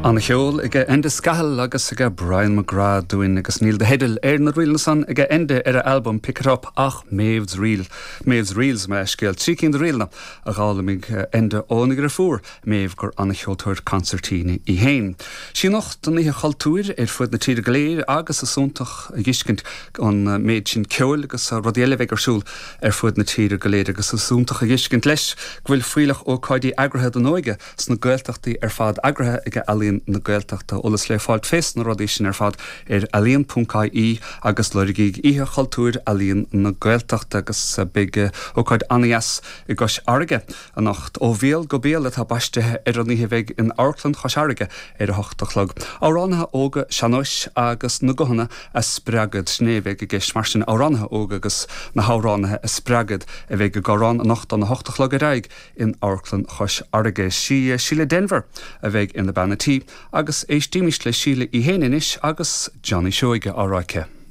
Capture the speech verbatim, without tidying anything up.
An-cheol ag Enda Scahill agus ag Brian McGrath dúinn agus níl de theideal ar na ríleanna san ag Enda ar a album Pick It Up ach Maeve's Reel Maeve's Reels mar scéal trí cinn de ríleanna a d'fhoghlaimigh Enda óna dheirfiúr Maeve gur an-cheoltóir consairtín í féin. Sí anocht an Oíche Chultúir ar fud na tíre go léir agus is iontach a fheiscint an méid sin ceoil agus rudaí eile bheith ar siúl ar fud na tíre go léir agus is iontach a fheiscint leis go bhfuil fuílleach ócáidí eagraithe don óige sna Gaeltachtaí ar fad eagraithe ag Ealaín na Gaeltachta eolas le fáil fés na rudaí sin ar fad ar ealaíon.ie agus lorgaigí Oíche Chultúir Ealaíon na Gaeltachta agus beidh ócáid an-deas i gCois Fharraige anocht ó bhéal go béal atá baiste ar an oíche bheidh in Amharclann Chois Fharraige ar a hocht a chlog. Amhránaithe óga sean-nóis agus na guthanna a spreagadh sin é bheidh i gceist mar sin amhránaithe óga agus na hamhránaithe a spreagadh a bheidh ag amhrán anocht óna hocht a chlog ar aghaidh in Amharclann Chois Fharraige sí Síle Denvir a bheidh ina bean tí agus éistimís le Síle í féin anois agus Johnny Seoige á rá aici.